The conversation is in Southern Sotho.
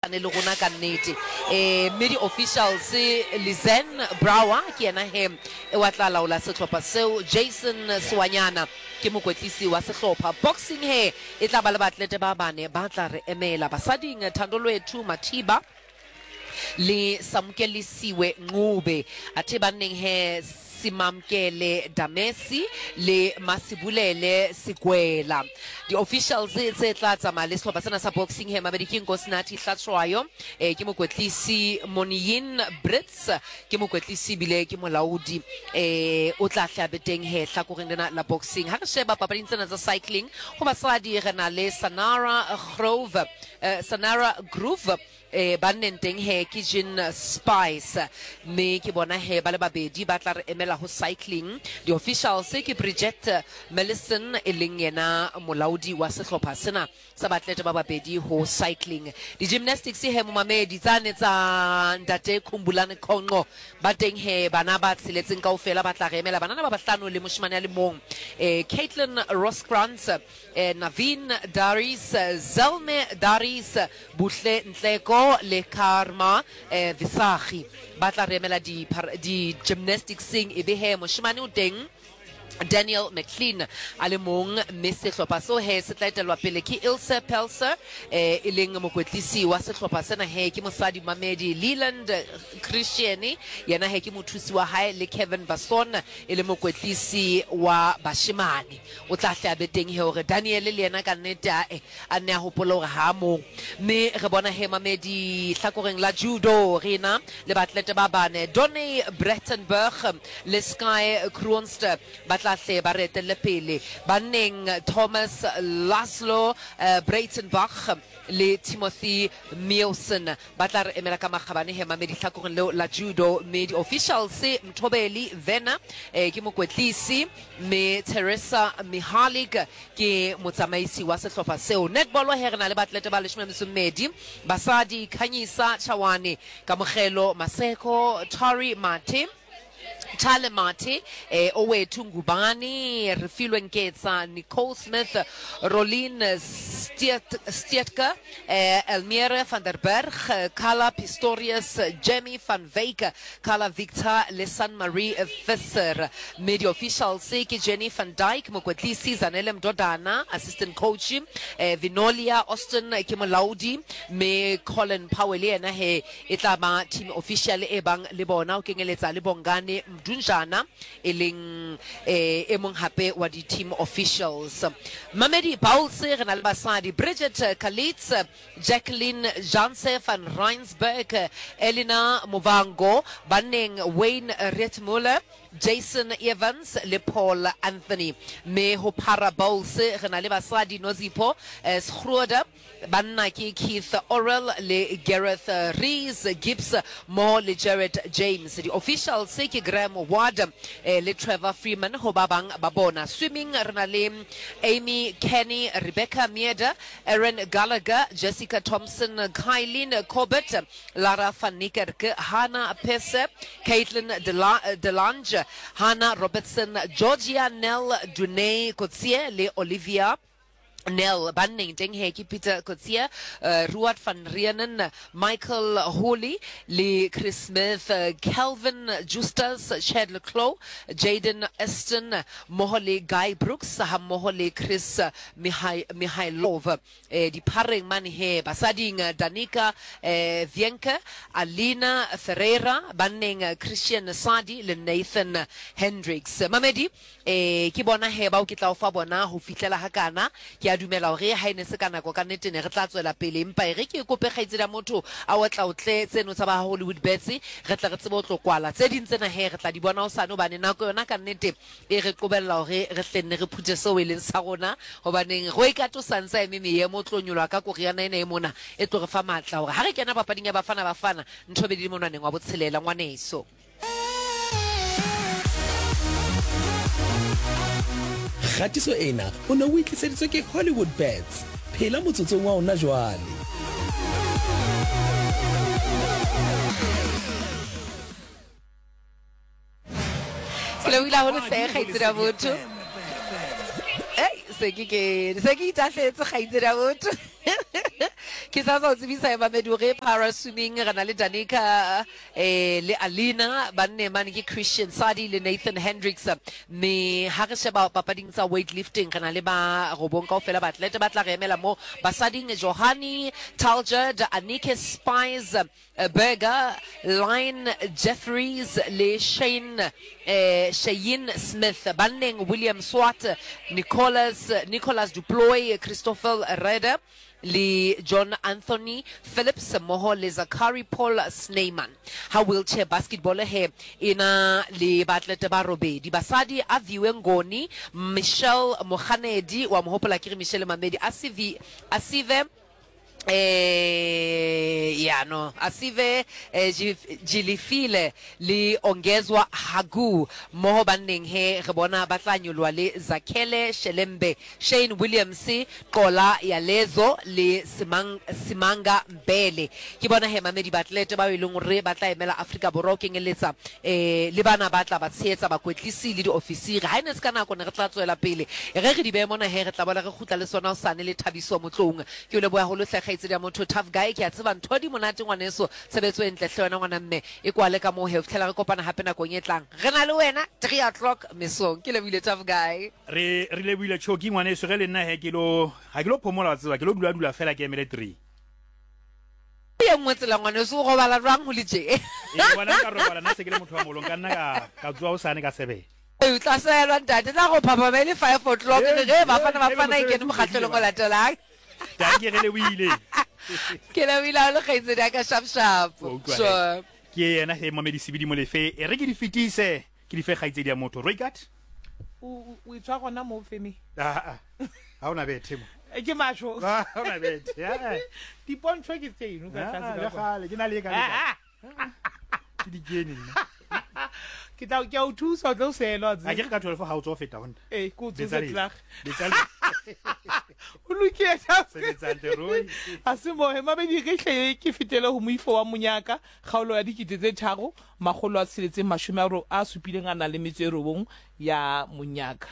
Le rona ka nnete. E, mme di-officials, Lizanne Brouwer ke yena he wa tla laola sehlopha seo, Jason Sewanyana ke mokwetlisi wa sehlopha. Boxing he e tla ba le baatlete ba bane ba tla re emela. Basading, Thandolwethu Mathiba le Samukelisiwe Ncube. Athe banneng he Simamkele Damesi le Masibulele Sigwela. Di-officials tse tla tsamaya le sehlopha sena sa boxing he mabedi ke Nkosinathi Hlatshwayo, eh, ke mokwetlisi, Moniyin Brits ke mokwetlisi ebile ke molaodi, eh, o tla hle a be teng he hlakoreng lena la boxing. Ha re sheba papading tsena tsa cycling ho basadi re na le Sanara Grove, eh, Sanara Groove, E, banneng teng he ke Jean Spice, mme ke bona he ba le babedi ba tla re emela ho cycling. Di-officials ke Bridgette Mellison e leng yena molaodi wa sehlopha sena sa baatlete ba babedi ho cycling. Di-gymnastics he momamedi tsane tsa ntate Khumbulani Khonqo ba teng he bana ba tsheletseng kaofela ba tla re emela, banana ba bahlano le moshemane a le mong. E, Caitlin Rooskrantz, e, Naveen Daries, Zelme Daries, Buhle Ntleko le Karma Visagie ba tla re emela di-gymnasticseng, e be he moshemane o teng Daniel McLean a le mong, mme sehlopha seo he se tla etelwa pele ke Ilse Pelser, e leng mokwetlisi wa sehlopha sena he ke mosadi Mamedi Leland Christian, yena he ke mothusi wa hae, le Kevin Basson e le mokwetlisi wa bashemane. O tla hle a be teng he hore Daniel le yena ka nnete ae A nne a hopole hore ha a mong. Mme re bona he mamedi hlakoreng la judo re ena le baatlete ba bane, Donny Brechtenberg le Sky Kroonster ba tla hle ba re etelle pele. Banneng, Thomas Laszlo Breitenbach le Timothy Meeuwsen ba tla re emela ka makgabane he mamedi hlakoreng leo la judo. Mme di-officials, Mthobeli Werner ke mokwetlisi, mme Teresa Mihalik Ke motsamaisi wa sehlopha seo. Netball he re na le baatlete ba leshome metso mmedi, basadi, Khanyisa Chawane, Kamogelo Maseko, Tori Mathe, Thale Mathe, eh, Owethu Ngubane, Refilwe Nketsa, Nicole Smith, Rolene Steetke, eh, Elmere van der Berg, Carla Pistorius, Jamie van Wyk, Carla Victor le San Marie Visser. Mme di-officials ke Jenny van Dyk, mokwetlisi, Zanele Mdodana, assistant coach, eh, Vinolia Austin ke molaodi, mme Colin Powell yena he e tla ba team official e bang le bona, ho kenyeletsa le Bongani Mdunjana e leng eh, e mong hape wa di-team officials. Mamedi Bowls re na le basadi Bridget Kalitz, Jacqueline Janse van Rensburg, Elina Muvhango, banneng Wayne Rietmüller, Jason Evans le Paul Anthony. Mme ho Para Bowls re na le basadi Nozipho Schroeder, banna ke Keith Orrell le Gareth Rees Gibbs mmoho le Jared James. Di-officials ke Graham Ward le Trevor Freeman ho ba bang ba bona. Swimming re na le Amy Kenny, Rebecca Meader, Erin Gallagher, Jessica Thompson, Kylene Corbett, Lara van Niekerk, Hannah Pese, Caitlin De Lange, Hannah Robertson, Georgia Nell, Dunay Coetzee le Olivia Nell. Banneng teng he ke Peter Coetzee, Ruad van Reenen, Michael Hooley le Chris Smith, Calvin Justus, Chad le Clos, Jaden Aston mmoho le Guy Brooks hammoho le Chris Mihailov. Diphareng mane he basading Danica Vienke, Alina Ferreira, banneng Christian Sadi le Nathan Hendricks. Mamedi, E, ke bona he bao ke tla o fa bona ho fihlela hakana. Ke a dumela hore ha e ne se ka nako ka nnete ne re tla tswela pele. Empa e re ke kope kgaitsedi ya motho a otlaotle tseno tsa ba ha Hollywood Bets, re tle re tsebe ho tlo kwala. Tse ding tsena he re tla di bona hosane hobane nako yona ka nnete e re qobella hore re hle nne re phuthe seo e leng sa rona. Hobaneng Roy Kato sa ntse a eme meemo o tlo nyoloha ka koriana ena e mona e tlo re fa matla hore ha re kena papading ya Bafana Bafana ntho e be di le monwaneng wa botshelela ngwaneso. Kgatiso ena o ne o e tliseditswe ke Hollywood Bets. Phela motsotsong wa ona jwale. Ke lebohile haholo hle kgaitsedi ya botho. Ei, se ke ke se ke itahletse kgaitsedi ya botho. Ke sa tswa o tsebisa Evamedi hore para swimming re na le Danica eh, le Alina, banne mane ke Christian Sadi le Nathan Hendricks. Mme ha re sheba papading tsa weightlifting re na le ba robong kaofela baatlete ba tla re emela mo basading, Johani Taljaard, Anike Spies, Berger, Line Jefferies le Shane Shayne Smith. Banneng, William Swart, Nicholas Nicholas du Plooy, Christoffel Reder le John Anthony Phillips mmoho le Zachary Paul Snyman. Ha wheelchair basketball he e na le baatlete ba robedi, basadi, Aviwe Ngoni, Michelle Moganedi, wa mo hopola akere Michelle Mamedi, Asivi Asive Eh, ya no Asive eh, Jilifile le Ongezwa Hagu mmoho banneng he re bona ba tla nyoloha le Zakhele Shelembe, Shane Williams, Qola Yalezo le Simang, Simanga Mbele. Ke bona he mamedi baatlete bao e leng hore ba tla emela Afrika Borwa ho kenyeletsa eh, le bana ba tla ba tshehetsa, bakwetlisi le diofisiri. Ha e ne se ka nako ne re tla tsoela pele. E re re di behe mona he, re tla boela re kgutla le sona hosane le Thabiso Motloung. Ke o leboha haholo hle kgaitsedi ya motho. Tough guy, ke a tseba ntho di monate ngwaneso. Tshebetso e ntle hle wena ngwana mme. E kwale ka moo he ho fihlela re kopana hape nakong e tlang. Re na le wena 3 o'clock mesong. Ke lebohile Tough guy. Re re lebohile Choki ngwaneso ge le nna he ke lo ga ke lo phomola wa tseba ke lo dula dula fela ke emele 3. Ye nngwe tsela ngwaneso o robala jwang ho le tje? Ee ngwana nka robala nna se ke le motho wa moholo nka nna ka ka tsoha hosane ka 7. O tla sehelwa ntate tla go phaphama e le 5 o'clock re ge Bafana Bafana e kene mokgahlelong o latelang. Dankie re lebohile. Ke lebohile haholo kgaitsedi ya ka sharp sharp. Wa utlwa he. Sure. Ke yena he Mamedi Sebidi Molefe e re ke di fetise ke di fe kgaitsedi ya motho Roykat. O o e tswa gona mo feme. Ah ah. Ha ona bethe mo. Eh, ke masho. Ha ona bethe. Ah. Dipontšho ke tseno ka tlase ka. kwa. Le ke na le ka le. Ke di kene nna. Ke tla ke a o thusa o tlo selwa A ke re ka 12 ha o tswa ho feta ho nna. Ee, ke o tsose klaar. Betsa O lokile. Sebetsang te Roy. A se mohe mabedi re hle ke fetele ho moifo wa monyaka kgaolo ya 3670 a supileng a nang le metso e robong ya monyaka.